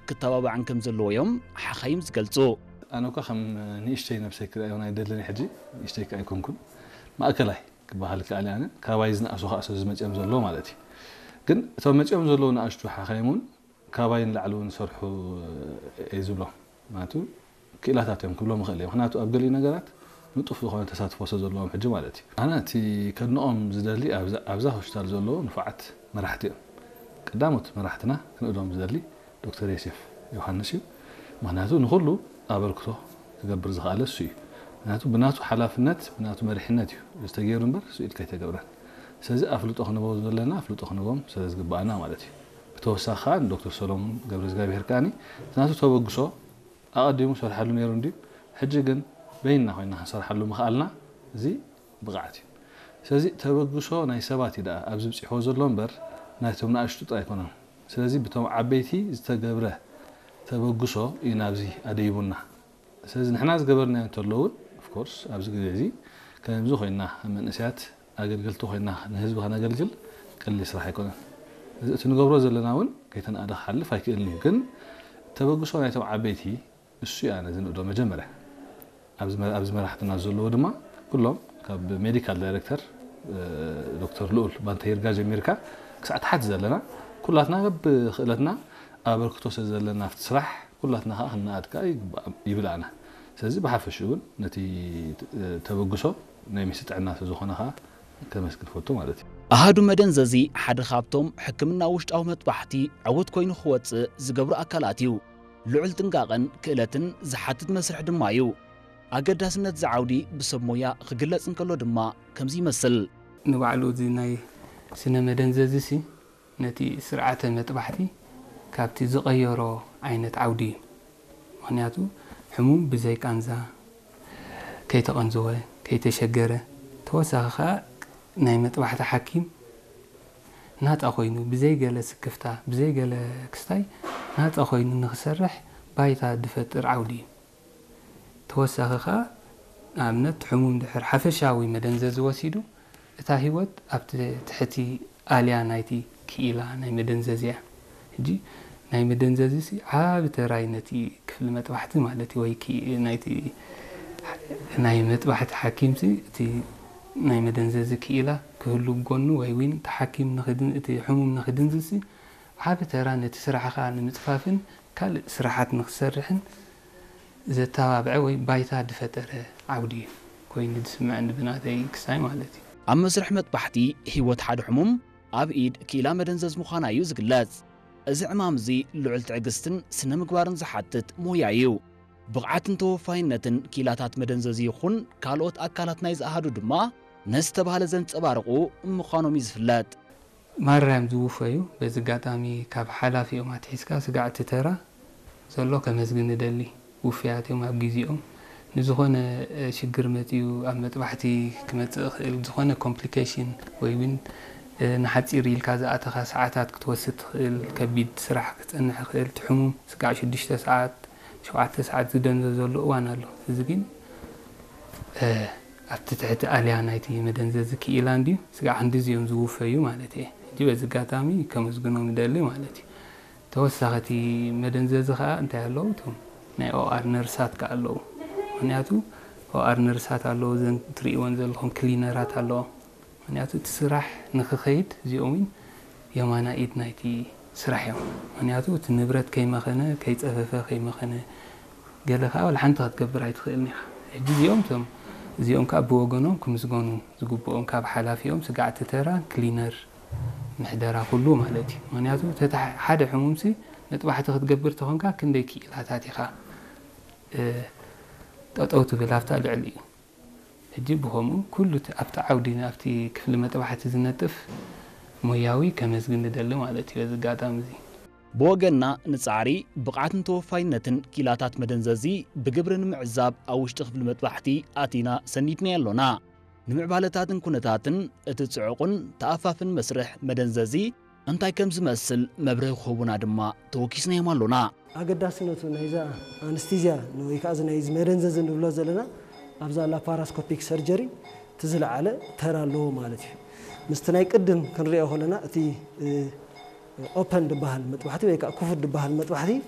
ክተባባዕን ከም ዘለዎ እዮም ሓኻይም ዝገልጹ። ኣነ እኳ ከም ንእሽተይ ነብሰይ ክርእዮ ኣይደልን ሕጂ፣ ንእሽተይ ከ ኣይኮንኩን፣ ማእከላይ ክበሃል ይከኣል እየ። ኣነ ካባይ ዝነኣሱ ከዓ ስለ ዝመፅኦም ዘለዎ ማለት እዩ። ግን እቶም መፅኦም ዘለዉ ንኣሽቱ ሓኻይም እውን ካባይ ንላዕሊ እውን ዝሰርሑ እየ ዝብሎም። ምክንያቱ ክኢላታት እዮም ክብሎም ይኽእል እየ። ምክንያቱ ኣብ ገሊኡ ነገራት ንጡፍ ዝኾነ ተሳትፎ ስለ ዘለዎም ሕጂ ማለት እዩ። ኣነ እቲ ከድንቖም ዝደሊ ኣብዛ ሆስፒታል ዘለዉ ንፉዓት መራሕቲ እዮም። ቀዳሞት መራሕትና ክንእዶም ዝደሊ ዶክተር ዮሴፍ ዮሃንስ እዩ። ምክንያቱ ንኹሉ ኣበርክቶ ክገብር ዝኸኣለ እሱ እዩ። ምክንያቱ ብናቱ ሓላፍነት ብናቱ መሪሕነት እዩ ዝተገይሩ እምበር ስኡ ኢልካ ኣይተገብረን። ስለዚ ኣፍልጦ ክንቦ ዘለና ኣፍልጦ ክንቦም ስለ ዝግባኣና ማለት እዩ። ብተወሳኺ ከዓ ንዶክተር ሰሎሙን ገብረ እግዚኣብሔር ከዓኒ እቲ ናቱ ተበግሶ ኣቐዲሙ ሰርሓሉ ነይሩ እንድዩ። ሕጂ ግን በይንና ኮይና ክንሰርሓሉ ምኽኣልና እዚ ብቕዓት እዩ። ስለዚ ተበግሶ ናይ ሰባት እዩ ደኣ ኣብዚ ብፂሕዎ ዘሎ እምበር ናይቶም ንኣሽቱ ጥራይ ኣይኮነን። ስለዚ ብቶም ዓበይቲ ዝተገብረ ተበግሶ እዩ ናብዚ ኣደይቡና። ስለዚ ንሕና ዝገበርናዮ እንተሎ እውን ኦፍኮርስ ኣብዚ ግዜ እዚ ከምዚ ኮይና መንእሰያት ኣገልገልቲ ኮይና ንህዝቢ ከነገልግል ቀሊል ስራሕ ኣይኮነን። እዚ እቲ ንገብሮ ዘለና እውን ከይተናእደ ክሓልፍ ኣይክእልን እዩ። ግን ተበግሶ ናይቶም ዓበይቲ እሱ እዩ ኣነ ዝንእዶ መጀመርያ ኣብዚ መ- ኣብዚ መራሕትና ዘለዎ ድማ ኩሎም ካብ ሜዲካል ዳይሬክተር እ፣ ዶክተር ልኡል ባንተ ይርጋ ጀሚርካ ክሳዕ ታሕቲ ዘለና ኩላትና በብክእለትና ኣበርክቶ ስለ ዘለና ኣብቲ ስራሕ ኩላትና ከዓ ክንነኣድ ከዓ ይግባእ- ይብል ኣነ። ስለዚ ብሓፈሽኡ እውን ነቲ እ፣ ተበግሶ ናይ ሚኒስትሪ ጥዕና ስለ ዝኾነ ከዓ ከመስግን ፈቱ ማለት እዩ። ኣሃዱ መደንዘዚ ሓደ ካብቶም ሕክምና ውሽጣዊ መጥባሕቲ ዕዉት ኮይኑ ክወፅእ ዝገብሩ ኣካላት እዩ። ልዑል ጥንቃቐን ክእለትን ዝሓትት መስርሕ ድማ እዩ። ኣገዳስነት እዚ ዓውዲ ብሰብ ሞያ ክግለጽ እንከሎ ድማ ከምዚ ይመስል። ንባዕሉ እዚ ናይ ስነ መደንዘዚ ሲ ነቲ ስርዓተ መጥባሕቲ ካብቲ ዝቐየሮ ዓይነት ዓውዲ እዩ። ምኽንያቱ ሕሙም ብዘይ ቃንዛ ከይተቐንዘወ፣ ከይተሸገረ፣ ተወሳኺ ኸኣ ናይ መጥባሕቲ ሓኪም ናጻ ኮይኑ፣ ብዘይ ገለ ስክፍታ፣ ብዘይ ገለ ክስታይ ናጻ ኮይኑ ንኽሰርሕ ባይታ ድፈጥር ዓውዲ እዩ። ተወሳኺ ኸኣ ንኣብነት ሕሙም ድሕር ሓፈሻዊ መደንዘዚ ወሲዱ እታ ህይወት ኣብቲ ትሕቲ ኣልያ ናይቲ ክኢላ ናይ መደንዘዚ እያ። ሕጂ ናይ መደንዘዚ ሲ ዓቢ ተራይ ነቲ ክፍሊ መጥባሕቲ ማለት እዩ ወይ ክኢ- ናይቲ ናይ መጥባሕቲ ሓኪም ሲ እቲ ናይ መደንዘዚ ክኢላ ክህሉ ብጎኑ ወይ ዊን እቲ ሓኪም ንኽድን- እቲ ሕሙም ንኽድንዝዝ ሲ ዓቢ ተራ ነቲ ስራሕኻ ንምጽፋፍን ካልእ ስራሓት ንኽሰርሕን ዘተባብዐ ወይ ባይታ ድፈጠረ ዓውዲ እዩ ኮይኑ ድስምዐኒ ብናተይ ክስታይ ማለት እዩ። ኣብ መስርሕ መጥባሕቲ ህይወት ሓደ ሕሙም ኣብ ኢድ ክኢላ መደንዘዝ ምዃና እዩ ዝግለጽ። እዚ ዕማም እዚ ልዑል ትዕግስትን ስነ ምግባርን ዝሓትት ሞያ እዩ። ብቕዓትን ተወፋይነትን ክኢላታት መደንዘዚ ይኹን ካልኦት ኣካላት ናይ ዝኣሃዱ ድማ ነዚ ተባህለ ዘንጸባርቑ ምዃኖም እዩ ዝፍለጥ። ማራ እዮም ዝውፈዩ። በዚ ኣጋጣሚ ካብ ሓላፊኦም ኣትሒዝካ ስጋዕ እቲ ተራ ዘሎ ከመስግን እደሊ። ውፉያት እዮም ኣብ ግዜኦም። ንዝኾነ ሽግር መጺኡ ኣብ መጥባሕቲ ክመጽእ ይኽእል፣ ዝኾነ ኮምፕሊኬሽን ወይ እውን ንሓጺር ኢልካ ዝኣተኻ ሰዓታት ክትወስድ ትኽእል፣ ከቢድ ስራሕ ክጸንሕ ይኽእል፣ እቲ ሕሙም ስጋዕ ሽዱሽተ ሰዓት ሸውዓተ ሰዓት ዝደንዘዘሉ እዋን ኣሎ። እዚ ግን ኣብቲ ትሕቲ ኣልያ ናይቲ መደንዘዚ ክኢላ እንድዩ ስጋዕ ክንድዚ እዮም ዝውፈዩ ማለት እየ። ሕጂ በዚ ኣጋጣሚ ከመስግኖም እደሊ ማለት እዩ። ተወሳኺ እቲ መደንዘዚ ከዓ እንታይ ኣለዉ? እቶም ናይ ኦኣር ነርሳት ከዓ ኣለዉ። ምክንያቱ ኦኣር ነርሳት ኣለዉ፣ እዘን ትርእይወን ዘለኹም ክሊነራት ኣለዋ። ምክንያቱ እቲ ስራሕ ንክኸይድ እዚኦም እውን የማና ኢድ ናይቲ ስራሕ እዮም። ምክንያቱ እቲ ንብረት ከይመኸነ፣ ከይፀፈፈ፣ ከይመኸነ ገለ ከዓ ዋላ ሓንቲ ክትገብር ኣይትኽእልን ኢኻ። ሕጂ እዚኦም እቶም እዚኦም ከዓ ብወገኖም ክምስገኑ ዝግብኦም ካብ ሓላፊኦም ስጋዕ እቲ ተራ ክሊነር ምሕደራ ኩሉ ማለት እዩ። ምክንያቱ ተታ ሓደ ሕሙምሲ መጥባሕቲ ክትገብር ተኾንካ ክንደይ ክኢላታት ኢኻ ጠጠው ትብል ኣብታ ልዕሊ እዩ። ሕጂ ብኸምኡ ኩሉ ኣብቲ ዓውዲ ኣብቲ ክፍሊ መጥባሕቲ ዝነጥፍ ሞያዊ ከመስግን ንደሊ ማለት እዩ በዚ ኣጋጣሚ እዚ። ብወገንና ንጻዕሪ ብቕዓትን ተወፋይነትን ኪላታት መደንዘዚ ብግብሪ ንምዕዛብ ኣብ ውሽጢ ክፍሊ መጥባሕቲ ኣቲና ሰኒድናዮ ኣሎና። ንምዕባለታትን ኩነታትን እቲ ጽዑቕን ተኣፋፍን መስርሕ መደንዘዚ እንታይ ከም ዝመስል መብርሂ ክህቡና ድማ ተወኪስናዮም ኣሎና። ኣገዳስነቱ ናይዛ ኣንስቲዝያ ወይ ከዓ እዚ ናይዚ መደንዘዚ ንብሎ ዘለና ኣብዛ ላፓራስኮፒክ ሰርጀሪ እቲ ዝለዓለ ተራ ኣለዎ ማለት እዩ። ምስቲ ናይ ቅድም ክንሪኦ ከለና እቲ ኦፐን ዝበሃል መጥባሕቲ ወይ ከዓ ክፉት ዝበሃል መጥባሕቲ